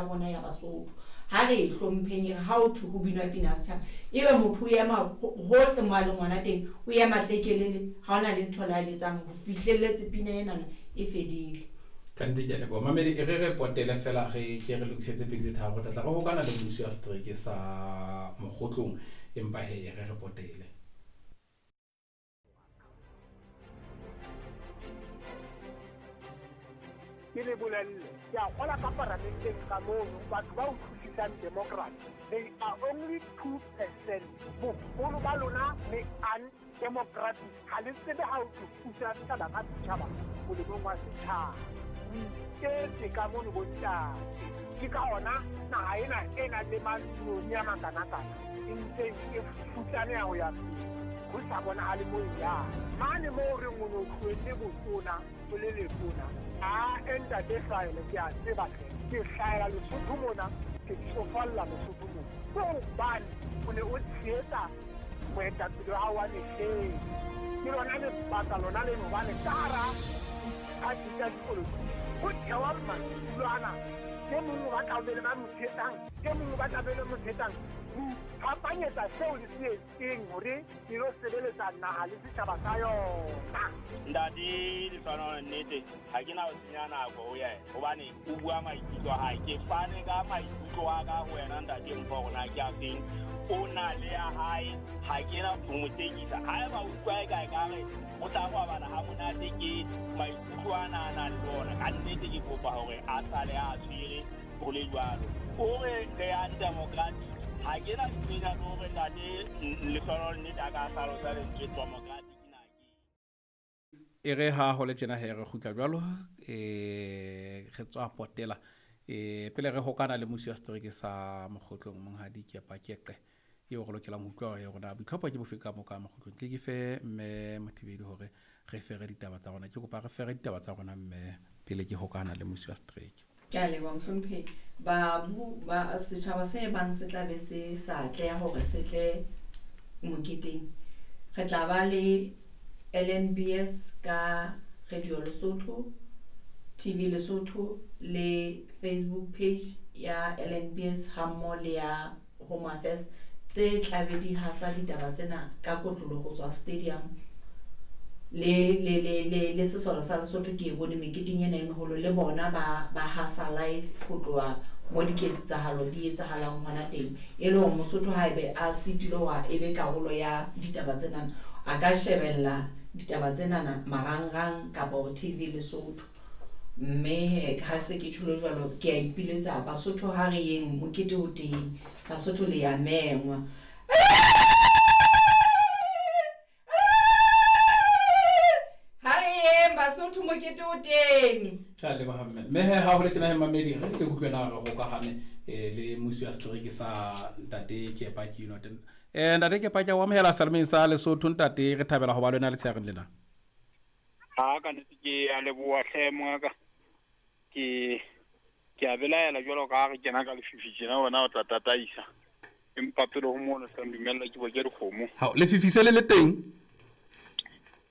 ya rona ya Basotho. Ha re e hlompheng e re ha ho thwe ho binwa pina ya setjhaba ebe motho o ema hohle mo a leng hona teng, o ema tlekelele, ha hona le ntho le a e etsang ho fihlelletse pina enana e fedile. Ka nnete ke a leboha. Mamedi, e re re potele fela re ke re lokisetse pedi tse tharo. Re tla tla re hokana le mmusi wa setereke sa Mokgotlong, empa he e re re potele. Ke le bolelle, ke a kgola ka paramenteng ka mono, batho ba utlwisisang democracy, they are only 2%. Boholo ba lona le undemocratic, ha le tsebe ha o tlo pusa setjhaba ka setjhaba molemong wa setjhaba. O iketse ka mono bontate. Ke ka hona naha ena e nang le manoni a makanakana e ntseng e futsaneha ho ya pele, ho sa bonahale mo e yang. Mane moo re reng o no tlohelle botona o le letona, a ntate Hlwaele, ke a tseba hle, ke hlahela Lesotho mona, ke tsofalla Lesotho mona. Ke hobane o ne o tshehetsa moetapele wa hao wa mehleng. Ke lona lebaka lona leno, hobane ka hara diphathi tsa dipolotiki ho thewa madulo ana. E mong o batla ho be le ba mo tshehetsang, e mong o batla ho be le mo tshehetsang. Ho iphapanyetsa seo le se etseng hore le lo sebeletsa naha le setjhaba sa yona. Ntate Lehlohonolo, nnete ha ke na ho senya nako ho yena hobane o bua maikutlo a hae. Ke fane ka maikutlo a ka ho wena ntate Mpho hore na ke a feng. O na le ya hae, ha ke na ho mo tekisa. Haeba o utlwa e ka ekare o tla robala ha monate ke maikutlo ana a nang le ona, ka nnete ke kopa hore a sale a tshwere ho le jwalo. O re re yang democratic, ha ke na ntho le hore ntate Lehlohonolo nnete a ka hlalosa lentswe democratic na ke. E re ha ho le tjena he re kgutla jwalo, re tswa potela. Pele re hokana le mmusi wa setereke sa Mokgotlong Monghadi Kepa Keqe eo re lokelang ho utlwa hore rona boitlhopho ke bofe ka mo ka Mokgotlong. Tle ke fe mme Mothibedi hore re fere ditaba tsa rona. Ke kopa re fere ditaba tsa rona mme pele ke hokana le mmusi wa setereke. Ke a leboha mohlomphehi. Babu ba setjhaba se bang se tla be se sa atleha hore se tle moketeng. Re tla ba le LNBS ka Radio Lesotho, TV Lesotho le Facebook page ya LNBS hammoho le ya Home Affairs tse tlabe di hasa ditaba tsena ka kotloloho ho tswa stadium le le le le le sesole sa Lesotho ke e bone meketeng ena e meholo le bona ba ba hasa live ho tloha mo diketsahalo di etsahalang hona teng. E le hore Mosotho haebe a sitilwe hore e be karolo ya ditaba tsenana, a ka shebella ditaba tsenana marangrang kapa TV Lesotho. Mme he ha se ke tjholo jwalo, ke a ipiletsa Basotho ha re yeng mokete o teng. Basotho le ya mengwa. Ha re yeng Basotho mokete o teng. Re a leboha mme. Mme he ha ho le tjena he mamedi re tle utlwe na re hokahane le mmusi wa setereke sa ntate Kepa ke eno. Ntate Kepa ke a o amohela selemeng sa Lesotho ntate, re thabela ho ba le wena letshehareng lena. Ha ka nnete ke a leboha hle mongaka. Ke ke a belaela jwalo ka ha re kena ka lefifi tjena wena o tla tataisa. Empa pele ho mono se dumella ke boke dikgomo. Hao, lefifi se le le teng?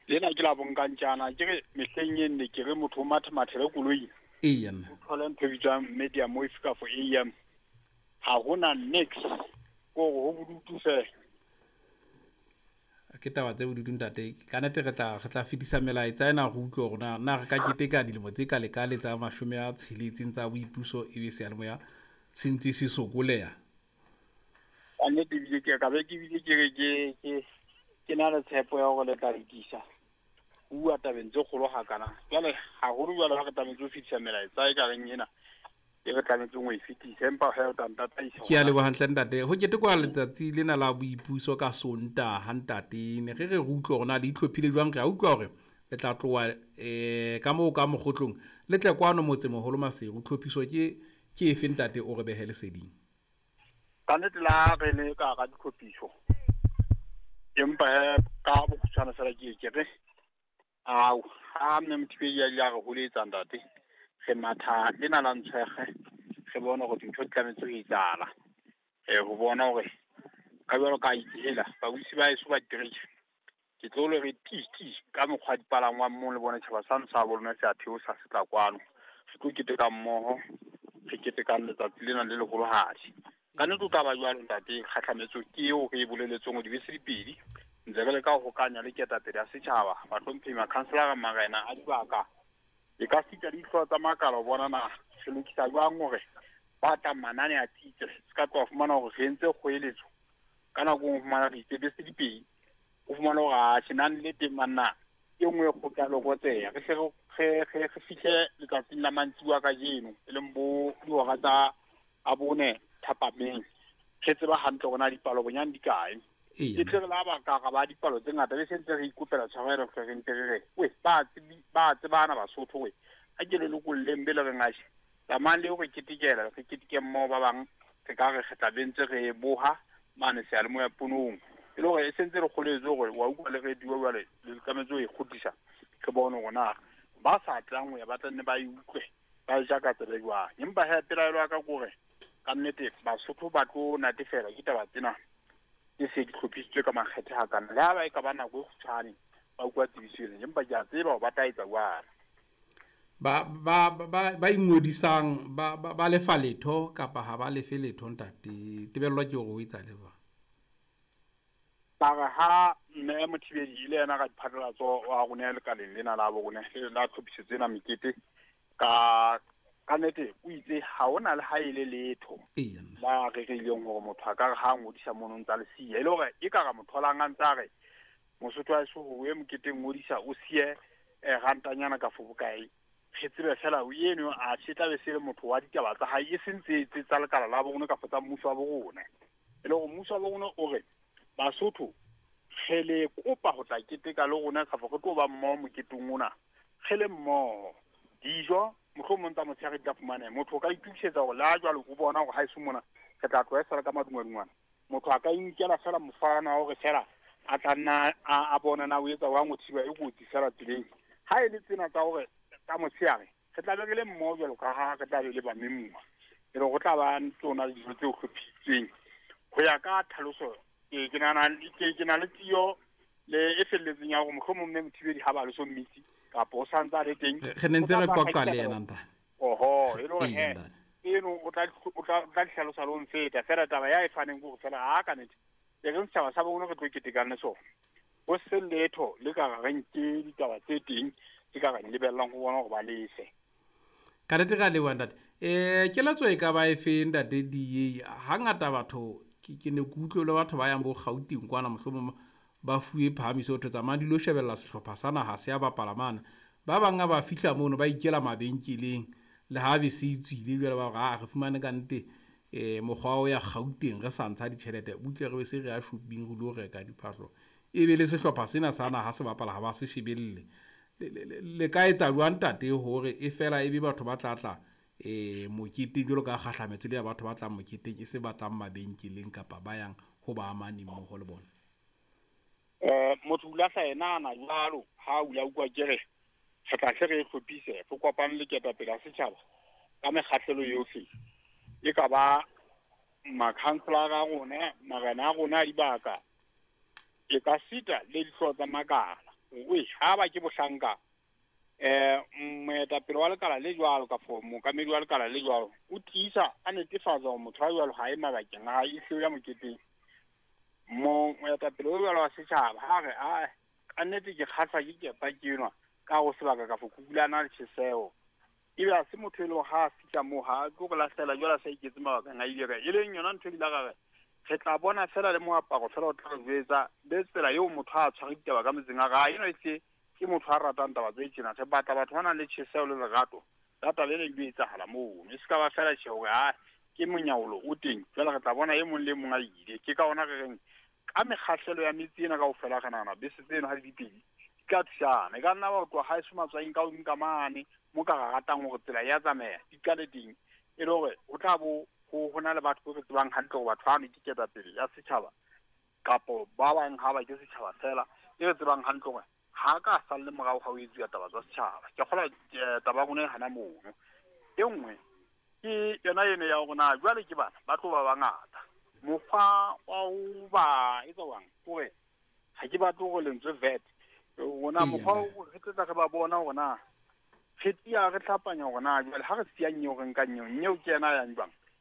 Lena ke la bonkantjana ke re mehleng e nne ke re motho o mathemathele koloi. Eya nna. O thole ntho e bitswang medium wave kafo AM. Ha hona nix. Ko hore ho bodutu fela. Ke taba tse bodutu ntate. Ka nnete re tla re tla fetisa melaetsa ena re utlwe hore na na re ka keteka dilemo tse ka lekale tsa 60 tsa boipuso ebe seyalemoya se ntse se sokoleha. Ka nnete ebile ke ka be ke bile ke re ke ke ke na le tshepo ya hore le tla lokisa. Ho bua tabeng tse kgolo hakana. Jwale haholo jwale ha re tlametse ho fetisa melaetsa e ka reng ena e re tlametseng ho e fetisa, empa he o tla ntataisa Ke a leboha hantle ntate. Ho ketekwa letsatsi lena la boipuso ka Sontaha ntate. Ne re re re utlwe hore na le itlhophile jwang. Re a utlwa hore le tla tloha ka moo ka Mokgotlong le tle kwano motsemoholo Maseru. Tlhophiso ke ke efe ntate o re behe leseding? Ka nnete le ha re le ka hara ditlhophiso, empa he ka bokgutshwane fela ke ke re ao ha mme Mothibedi a ile a re holetsa ntate, re matha lena la ntshwekge re bone hore dintho di tlametse ho etsahala. Ho bona hore ka jwalo ka itse hela babusi ba heso ba ditereke, ke tlo le re ti ti ka mokgwa dipalangwang mong le bone tjhaba sano sa bo lona se a theosa se tla kwano. Re tlo keteka mmoho, Re ketekang letsatsi lena le leholohadi. Ka nnete o tla ba jwalo ntate, kgahlametso ke eo re e boleletseng hore dibese di pedi. Ntse re leka ho hokanya le ketapele ya setjhaba, bahlomphehi, makhanselara, marena a dibaka. E ka sita le dihlooho tsa makala ho bona na re lokisa jwang hore ba tlang manane a tsitse. Se ka tloha fumana hore re entse kgoeletso ka nako e nngwe, o fumana re itse bese di pedi. O fumane hore atjhe nang le teng banna, e nngwe e kgutla lokotseha. Re hle re fihle letsatsing la mantsibuya kajeno, e leng bo dihora tsa a bone thapameng. Re tseba hantle hore na dipalo bonyane di kae. E tle re la ba ka ra ba dipalo tse ngata, be se ntse re ikopela tshwarelo, hle re ntse re re we ba ba tsebana Basotho we a ke le lokolleng be le reng atjhe tsamayang le yo re ketekela, re keteke mmoho ba bang re ka re re tla be ntse re boha mane seyalemoya ponong. E le hore e sentse re kgoletswe hore wa utlwa le radio jwale le tlametse ho e kgutlisa, re bone hore na ba sa tlang ho ya ba tla nne ba e utlwe ba e ja ka tsebe jwang. Empa he pelaelo ya ka ke hore ka nnete Basotho ba tlo natefelwa ke taba tsena tse se di hlophisitswe ka makgethe hakana. Le ha ba e ka ba nako e kgutshwane ba utlwa tsebiso ena, empa ke a tseba hore ba tla etsa jwalo. Ba ba ba ba ingodisang ba ba lefa letho kapa ha ba lefe letho ntate? Tebello ke hore o etsa le jwang? Ba re ha Mme Mothibedi e le yena radiphatlalatso wa rona lekaleng lena la bo rona la tlhophisetso ena mekete, ka ka nnete o itse ha hona le ha e le letho la rerileng hore motho a ka re ha ngodisa mono ntsa le siya. E le hore e ka ra mo tholang a ntsa re Mosotho wa heso hore o ye moketeng ngodisa o siye rantanyana ka fo bokae. Re tsebe fela eno a se tla be se le motho wa ditaba tsa hae, e seng tse tse tsa lekala la bo rona kapa tsa mmuso wa bo rona. E le hore mmuso wa bo rona o re Basotho re le kopa ho tla keteka le rona kapa re tlo ba mmoho moketeng ona, re le mmoho. Dijo mohlomong tsa motshehare di tla fumaneha. Motho o ka itokisetsa hore le ha jwale o bona hore haeso mona re tla tloha e sala ka madungwadungwana. Motho a ka inkela fela mofana wa hore fela a tla nna a bona na o etsa jwang ho thiba e kotsi fela tseleng. Ha e le tsena tsa hore tsa motshehare re tla be re le mmoho jwalo ka ha re tla be le bamemuwa. E le hore ho tla ba tsona dijo tse hlophisitsweng ho ya ka tlhaloso. Ke nahana ke na le tiyo le e felletseng ya hore mohlomong Mme Mothibedi ha ba le so mmitsi kapa o santse a le teng. Re ne ntse re qoqa le yena ntate. Oho, e le hore he eno o tla di hlalosa le ho nfeta. Fela taba ya e faneng ke hore fela ha ka nnete e reng setjhaba sa bo rona re tlo ketekang le sona. Ho se letho le ka re nke ditaba tse teng tse ka re lebellang ho bona hore ba lefe. Ka nnete re a leboha ntate. Keletso e ka ba e fe ntate DA? Hangata batho ke ne ke utlwe le batho ba yang bo Gauteng kwana mohlomong ba fuwe phahamiso ho thwe tsamayang di lo shebella sehlopha sa naha se a bapala mane. Ba bang ha ba fihla mono ba ikela mabenkeleng le ha bese e tswile jwale ba re a re fumane ka nnete mokgwa o ya Gauteng re sa ntsha ditjhelete butle re be se re ya shopping re lo reka diphahlo. Ebe le sehlopha sena sa naha se bapala ha ba se shebelle. Le ka etsa jwang ntate hore e fela ebe batho ba tla tla moketeng jwalo ka kgahlametso le ya batho ba tlang moketeng e se ba tlang mabenkeleng kapa ba yang ho ba amaneng mmoho le bona? Motho o lahla yena ana jwalo ha o la utlwa ke re re tla hle re hlophise re kopane le ketapele ya setjhaba ka mekgahlelo yohle, e ka ba makhanselara a rona, marena a rona a dibaka, e ka sita le dihlooho tsa makala. Oe ha ba ke bohlanka moetapele wa lekala le jwalo kapa mookamedi wa lekala le jwalo o tiisa a netefatsa hore motho wa jwalo ha e mabakeng a hae, e hle o ya moketeng. Moetapele o jwalo wa setjhaba ha re a ka nnete ke kgahlwa ke kepa ke enwa ka ho sebaka kapa kukulana le tjheseho, ebe ha se motho e leng ha a fihla moo ha a tlo re lahlela jwale a sa iketse mabakeng a ile kae. E leng yona ntho e ile ra re re tla bona fela le moaparo fela o tla re jwetsa le tsela eo motho a tshware ditaba ka metseng a re a eno e hle ke motho a ratang taba tse tjena. Re batla batho ba nang le tjheseho le lerato la taba ena e lo etsahala mono, e se ka ba fela tjhe hore ha ke monyaolo o teng jwale re tla bona e mong le mong a ile. Ke ka hona re reng ka mekgahlelo ya metse ena kaofela re nahana bese tseno ha di le pedi di tla thusana. E ka nna ba tloha haeso matswaing ka hodimo ka mane mo ka ra ratang hore tsela ya tsamaya di qale teng, e le hore ho tla bo ho na le batho bo re tsebang hantle hore batho bano ke ketapele ya setjhaba kapo ba bang ha ba ke setjhaba fela, e re tsebang hantle hore ha ka salle morao ha o etsuwa taba tsa setjhaba. Ke kgolwa taba ya rona e hana mono. E nngwe ke yona eno ya hore na jwale ke bana ba tlo ba bangata, mokgwa wa ho ba etsa jwang hore ha ke batle hore lentswe vet rona mokgwa re tlo tla re ba bona hore na Pheti ya re hlapanya hore na jwale ha re siya nyeo re nka nyeo, nyeo ke yena a yang jwang?